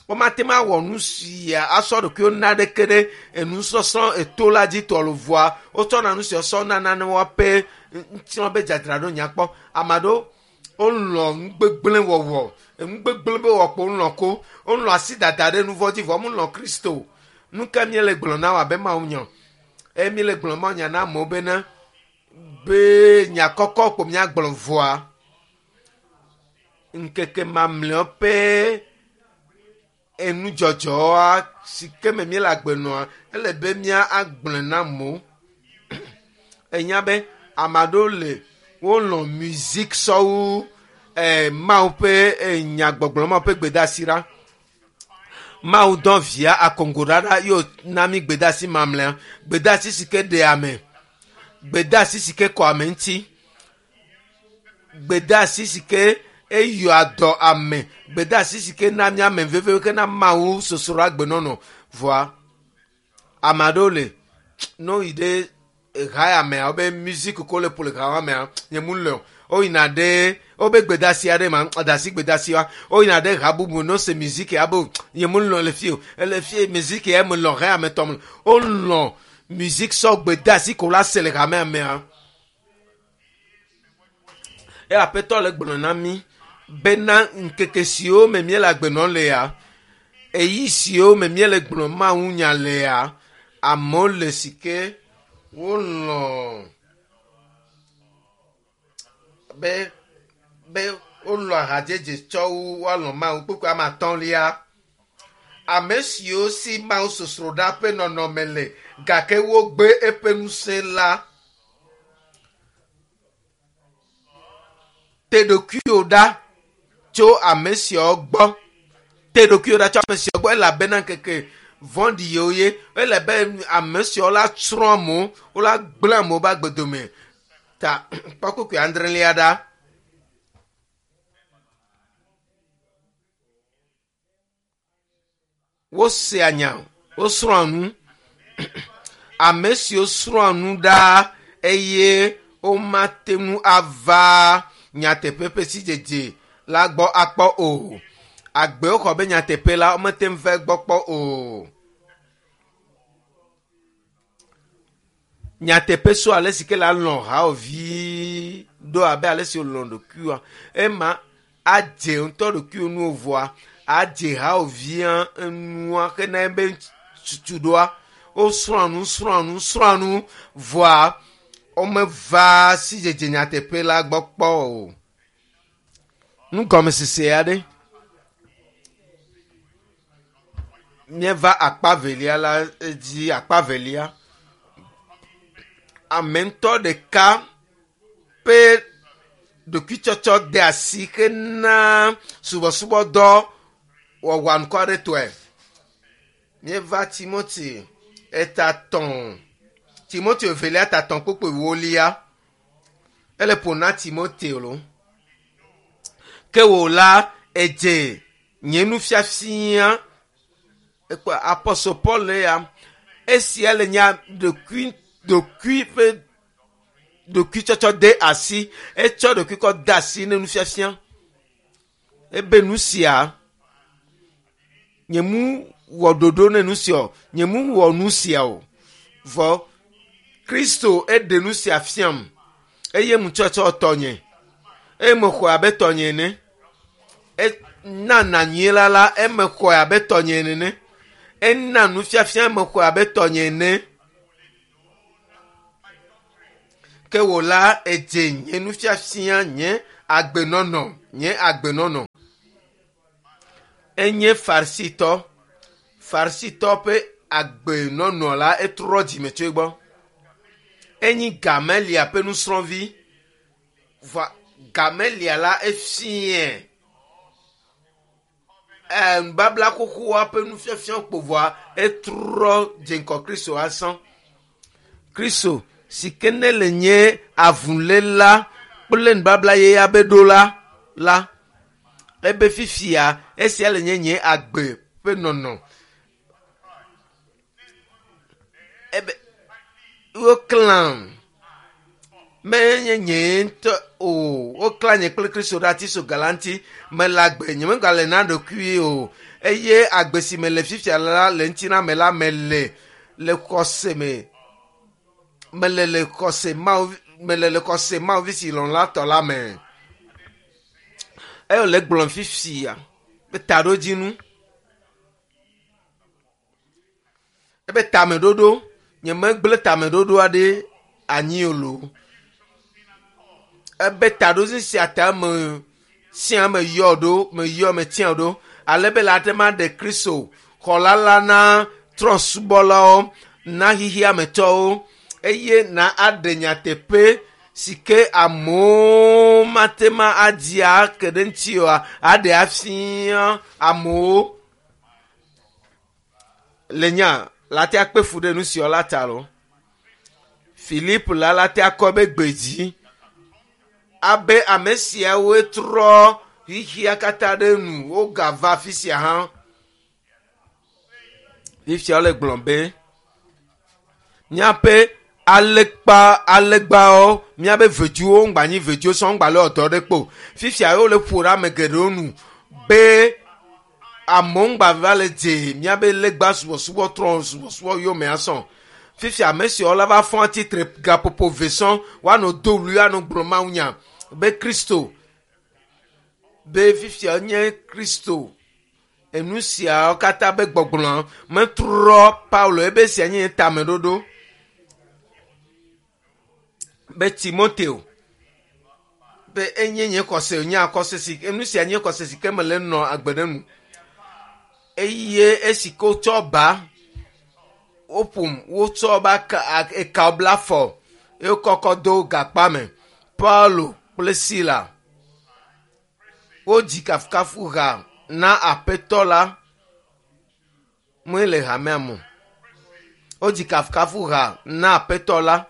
womate ŋu awɔ nu sia asɔ ɖokuiwo na ɖeke ɖe enusɔsrɔ̃ eto la dzi tɔ lo vɔa wotsɔna nu sia sɔ nana ne woaƒe ŋutilã be dzadzraɖo nyakpɔ. Ame aɖewo wolɔ̃ nugbegblẽ wɔwɔ nugbegblẽ be wɔkpo wolɔ̃ ko wolɔ̃ asi dada ɖe nu vɔ̃ dzi vɔ wolɔ̃ Kristo. Nu ka míele gblɔ na wo abe Mawu nya eye míele gblɔ Mawu nya na amewo bena be nya kɔkɔ ko míagblɔ vɔa ŋkeke mamlɛawo ƒe enudzɔdzɔa si ke me míele agbe nɔa ele be mía agblɔe na amewo. Enya be ame aɖewo le wolɔ̃ music sɔwu Mawu ƒe nyagbɔgblɔ Mawu ƒe gbedeasi ɖa. Mawu dɔ via akongo ɖaɖa ye wòna mí gbedeasi mamlɛa. Gbedeasi si ke ɖea ame, gbedeasi si ke kɔ ame ŋuti, gbedeasi si ke eyɔa dɔ ame, gbedeasi si ke na mía ame vevewo ke na Mawu sosro agbenɔnɔ. Vɔa ame aɖewo le ne woyi ɖe ha ya mea wobe music ko le ƒo le ha mea nye mu le o. Woyina ɖe wobe gbedeasi aɖe ma dasi gbedeasi wa woyina ɖe ha bubu ne wose music ya be nye mu lɔ le fi o ele fi music ya me lɔ ha ya me tɔ me wolɔ music sɔ gbedeasi ko la se le ha mea mea. Eye aƒetɔ le gblɔ na mí bena ŋkeke siwo me míele agbe nɔm le ya eyi siwo me míele gblɔ Mawu nya le ya amewo le si ke wolɔ̃ be be wolɔ̃ ahadzedze tsɔ wu woalɔ̃ Mawu. Kpukpui ame atɔ̃lia ame siwo si Mawu sosroɖa ƒe nɔnɔme le gake wogbe eƒe ŋusẽ la te ɖokuiwò ɖa tso ame siawo gbɔ. Te ɖokuiwò ɖa tso ame siawo gbɔ elabena ŋkeke vɔ̃ɖi yewo ye ele be ame siawo la tsrɔ̃ amewo wola gblẽ amewo ƒe agbe dome. Ta kpɔ kpukpui adrelia ɖa. Wosea nya, wosrɔ̃a nu. Ame siwo srɔ̃a nu ɖaa eye womate ŋu ava nyateƒe ƒe sidzedze la gbɔ akpɔ o. Agbe woxɔ be nyateƒe la womete ŋu va egbɔ kpɔ o. Nyateƒe so ale si ke la lɔ̃ hawòvi ɖo abe ale si wòlɔ̃ ɖokuiwoa ema adze ŋutɔ ɖokuiwò nu vɔa adze hawòvia enua hena ebe tutuɖoa wosrɔ̃a nu srɔ̃a nu srɔ̃a nu vɔa womeva sidzedze nyateƒe la gbɔ kpɔ o. Nugɔmesese aɖe. Míeva akpa velia la dzi akpa velia. Ame ŋutɔ ɖeka ƒe ɖokuitsɔtsɔ de asi hena subɔsubɔdɔ wɔwɔ anukuaretɔe. Míeva Timothy eta tɔ̃ Timothy evelia ta tɔ̃ kpukpui ewolia. Ele ƒo na Timoteo lo. Ke wò la edze nye nufiafia ekpɔ apɔstol Paul ya esia le nya ɖokui ɖokui ƒe ɖokuitsɔtsɔ de asi etsɔ ɖokui kɔ de asi ne nufiafia ebe nu sia nye mu wɔ ɖoɖo ne nu sia o nye mu wɔ nu sia o vɔ Kristo eɖe nu sia fiam eye mu tsɔtsɔ tɔnye eye mexɔe abe tɔnye ene ena nanyui la la eme xɔe abe tɔnye ene ena nufiafia eme xɔe abe tɔnye ene ke wò la edze nye nufiafia nye agbenɔnɔ nye agbenɔnɔ enye farisitɔ farisitɔ ƒe agbenɔnɔ la etrɔ dzime tso egbɔ enyi gamelia ƒe nusrɔ̃vi vɔa gamelia la efie nubabla xoxoa ƒe nufiafia kpo vɔa etrɔ dze ŋgɔ Kristo azɔ. Kristo si ke ne le nye avuléla kple nubabla yeyea be ɖola la ebe fifia esia le nye nye agbe ƒe nɔnɔ. Ebe woklãm. Menye nye ŋutɔ o. Woklã nye kple Kristo ɖe ati so ga la ŋuti. Mele agbe, nyemegale na ɖokui o. Eye agbe si mele fifia la le ŋutina me la mele le xɔse me. Mele le xɔse Mawu mele le xɔse Mawu vi si lɔ̃ la tɔ la me. Eye wòle gblɔm fifia be taɖodzinu. Ebe tameɖoɖo, nyemegblẽ tameɖoɖo aɖe anyi o loo. Ebe taɖodzinu sia ta me sia me yɔ ɖo, meyɔ metia ɖo ale be le ate ma ɖe Kristo xɔla la na trɔ̃subɔlawo, na xexeametɔwo eye na aɖe nyateƒe si ke amewo mate ma adi ake ɖe ŋuti oa, aɖe afia amewo le nya la te akpe fu ɖe nu siawo la ta lo. Filip la la te akɔ be gbe dzi abe ame siawoe trɔ xexea katã ɖe nu wogava afi sia hã. Fifia wole gblɔm be míaƒe alekpa alegbawo míaƒe vedziwo ŋgba nyi vedziwo sɔŋ ŋgba le dɔ ɖe kpo. Fifia wole ƒo ɖe ame geɖewo nu be amewo ŋgba va le dze míaƒe legba subɔsubɔ trɔ subɔsubɔ yome asɔ. Fifia ame siawo la va fɔ atsitre gaƒoƒo ve sɔŋ woanɔ do wli anɔ gblɔ mawunya be Kristo be fifia nye Kristo. Enu siawo katã be gbɔgblɔ metrɔ Paulo ebe sia nye tameɖoɖo be Timoteo be enye nye xɔse nye akɔse si enu sia nye xɔse si ke mele nɔ agbe ɖe nu eye esi ke wotsɔ ba woƒom wotsɔ ba ka eka bla afɔ eye wokɔkɔ do gakpa me Paulo kple Sila wodzi kafukafu ha na aƒetɔ la mue le hamea me. Wodzi kafukafu ha na aƒetɔ la.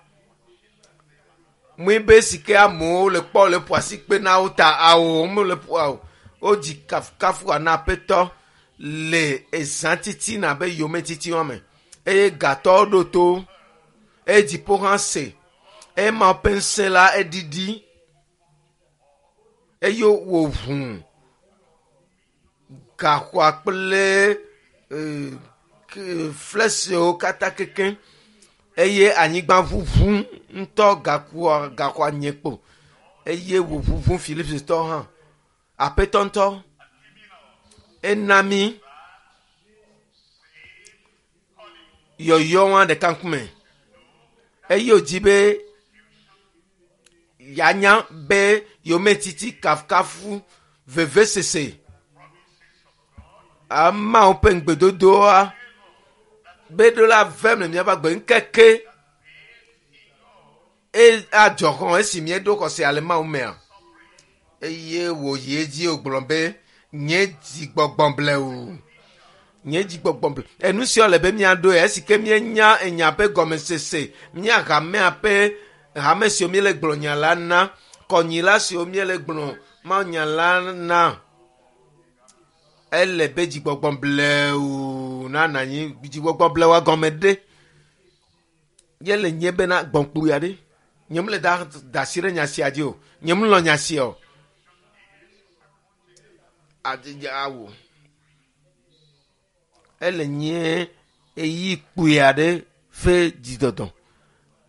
Mue be si ke amewo le kpɔ le ƒo asi kpe na wo ta awo mele ƒo o. Wodzi kafukafu ha na aƒetɔ le ezã titina be yometiti wɔme eye gatɔwo ɖo to eye dziƒo hã se eye Mawu ƒe ŋusẽ la eɖiɖi eye wòʋu gaxɔa kple flesiwo katã kekeŋ eye anyigba ʋuʋu ŋutɔ gaxɔa gaxɔa nye kpo eye wòʋuʋu Filipitɔwo hã. Aƒetɔ ŋutɔ ena mí yɔyɔ wa ɖeka ŋkume eye wòdi be yeanya be yometiti kafukafu vevesese Mawu ƒe ŋugbedodoa be ɖo la vem le míaƒe agbe ŋkeke e adzɔ xɔ esi míeɖo xɔse ale Mawu mea eye wòyi edzi wògblɔ be nye dzigbɔgbɔ blewu nye dzigbɔgbɔ ble enu sia le be míaɖoe esi ke míenya enya ƒe gɔmesese mía hamea ƒe hame siwo míele gblɔ nya la na kɔnyila siwo míele gblɔ Mawu nya la na ele be dzigbɔgbɔ blewu nanɔ anyi dzigbɔgbɔ blewua gɔme ɖe ye le nye bena gbɔ̃kpui aɖe nye mele da da asi ɖe nya sia dzi o nye melɔ nya sia o adi awu ele nye eyi kpui aɖe ƒe dzidɔdɔ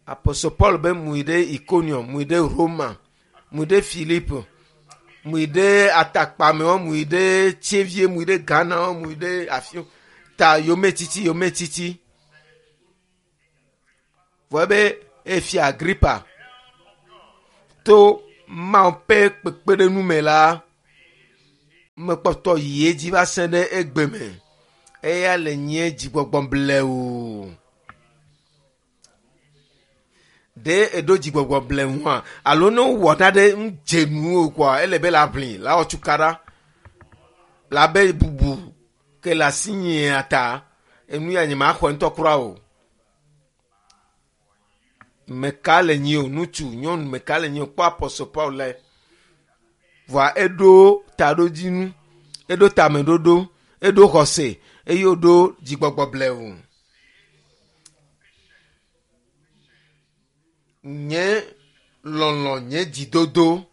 Apostle Paul be mui ɖe Iconium mui ɖe Roma mui ɖe Philippe mui ɖe atakpamewo mui ɖe Tsevie mui ɖe Ghana mui ɖe afi ta yometiti yometiti vɔ ebe efia Agrippa to Mawu ƒe kpekpeɖeŋu me la mekpɔtɔ yi edzi va se ɖe egbe me eya le nye dzigbɔgbɔ blewu. Ɖe eɖo dzigbɔgbɔ blewua alo ne wowɔ naɖe ŋdze nuwo koa ele be la ʋli la wɔ tukaɖa la be bubu ke le asi nyea ta enu ya nye ma xɔe ŋutɔ kura o. Meka le nyi o ŋutsu nyɔnu meka le nyi o kpɔ Apostle Paul le vɔa eɖo taɖodzinu eɖo tameɖoɖo eɖo xɔse eye wòɖo dzigbɔgbɔ blewu. Nye Lɔlɔ nye dzidodo.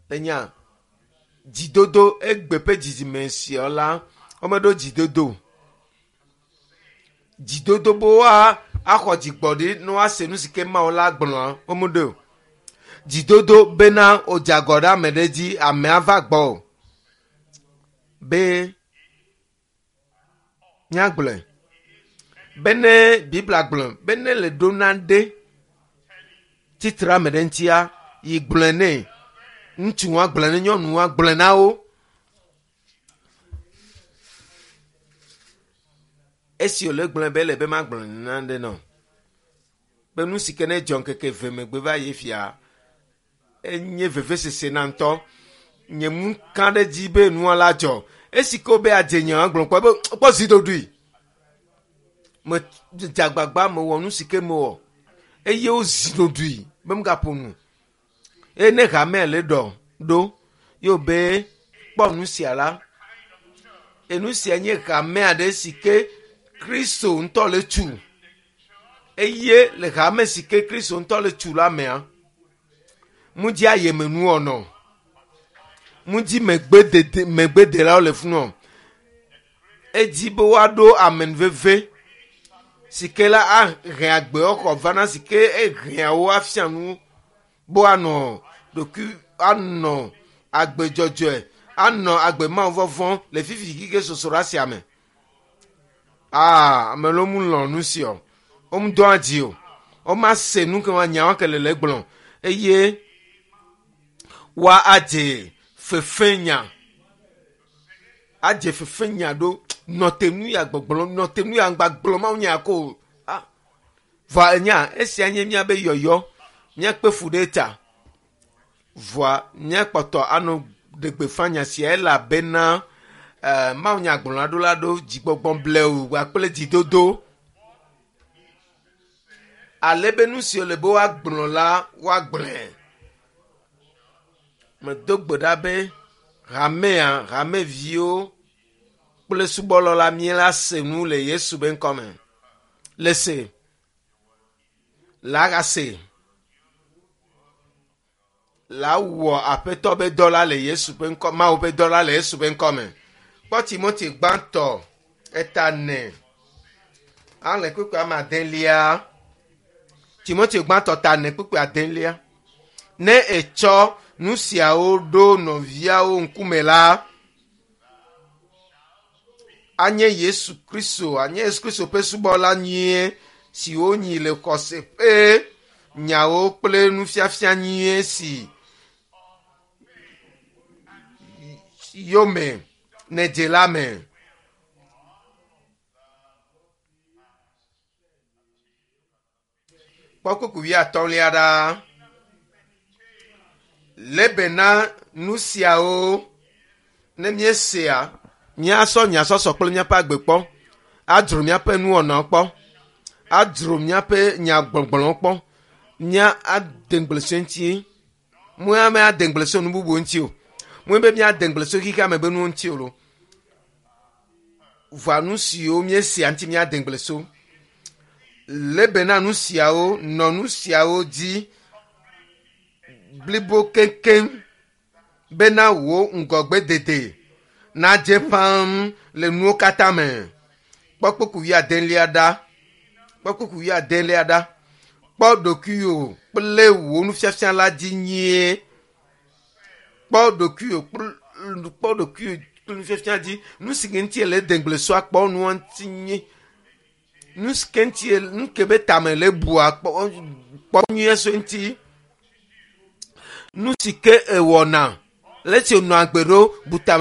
Enya dzidodo egbe ƒe dzidzime sia la womeɖo dzidodo o. Dzidodo be woa axɔ dzigbɔɖi ne woase nu si ke Mawu la gblɔa womeɖoe o. Dzidodo bena wodze agɔ ɖe ame ɖe dzi amea va gbɔ o. Be míagblɔe bene Biblia gblɔ be ne le ɖo nane tsitre ame ɖe ŋutia yi gblɔe nɛ. Ŋutsu wa gblɔe ne nyɔnu wa gblɔe na wo. Esi wòle gblɔe be ele be magblɔ nane nɔ be nu si ke ne dzɔ ŋkeke eve megbe va yi fia enye vevesese na ŋutɔ. Nye mu ka ɖe dzi be nua la dzɔ. Esi ke wobe adze nya gblɔ kpɔ be kpɔ zi ɖoɖoe. Me dze agbagba mewɔ nu si ke mewɔ eye wozi ɖoɖoe be megaƒo nu. Eye ne hamea le ɖɔ ɖo ye wobe kpɔ nu sia la, enu sia nye hamea ɖe si ke Kristo ŋutɔ le tu. Eye le hame si ke Kristo ŋutɔ le tu la mea, ŋdzi ayemenuwɔnɔ, ŋdzi megbedede megbedelawo le funɔ. Edzi be woaɖo amenuveve si ke la ahe agbexɔ vana si ke ehea wo afia nu be woanɔ ɖokui anɔ agbe dzɔdzɔe anɔ agbe Mawu vɔvɔ̃ le fifi kike sosroɖa sia me. Aa ame ɖewo mu lɔ̃ nu sia o. Womedɔa dzi o. Womase nu ke nyawo ke le le gblɔ eye woa adze fefenya adze fefenya ɖo nɔte nu ya gbɔgblɔ nɔte nu ya ŋgba gblɔ Mawu nya ko o. Ah vɔa enya esia nye míabe yɔyɔ míakpe fu ɖe ta. Vɔa míakpɔtɔ anɔ ɖe gbeƒã nya sia elabena eh, Mawu nya gblɔla ɖo la ɖo dzigbɔgbɔ blewu kpakple dzidodo. Ale be nu si wòle be woagblɔ la woagblɔe. Medo gbe ɖa be hamea hameviwo kple subɔlɔ la míela se nu le Yesu be ŋkɔme. Le se. La gase. La wɔ aƒetɔ be dɔ la le Yesu ƒe ŋkɔ Mawu ƒe dɔ la le Yesu ƒe ŋkɔme. Kpɔ Timothy gbãtɔ eta ne. Ale kpukpui ame adelia. Timothy gbãtɔ ta ne kpukpui adelia. Ne etsɔ nu siawo ɖo nɔviawo ŋkume la, anye Yesu Kristo, anye Yesu Kristo ƒe subɔla nyuie si wonyi le xɔse ƒe nyawo kple nufiafia nyuie si yome nèdze la me. Kpɔ kpukpui wuiatɔ̃lia ɖa. Lebe na nu siawo ne míesea, míasɔ nyasɔsɔ kple míaƒe agbe kpɔ, adzro míaƒe nuwɔnawo kpɔ, adzro míaƒe nyagbɔgblɔwo kpɔ, mía ade ŋugble so eŋuti. Mía míade ŋugble so nu bubuwo ŋuti o. Mía be míade ŋugble so xexea me be nuwo ŋuti o lo. Vɔa nu siwo míesea ŋuti míade ŋugble so. Lebe na nu siawo, nɔ nu siawo dzi blibo keŋkeŋ bena wò ŋgɔgbedede nadze ƒãm le nuwo katã me. Kpɔ kpukpui wuiadelia ɖa. Kpɔ kpukpui wuiadelia ɖa. Kpɔ ɖokuiwò kple wò nufiafia la dzi nyuie. Kpɔ ɖokuiwò kple kpɔ ɖokuiwò kple nufiafia dzi. Nu si ke ŋuti le de ŋugble so akpɔ nua ŋuti nyuie. Nu si ke ŋuti nu ke be tame le bua kpɔ kpɔ nyuie so eŋuti. Nu si ke ewɔna le esi wònɔ agbe ɖo bu tame.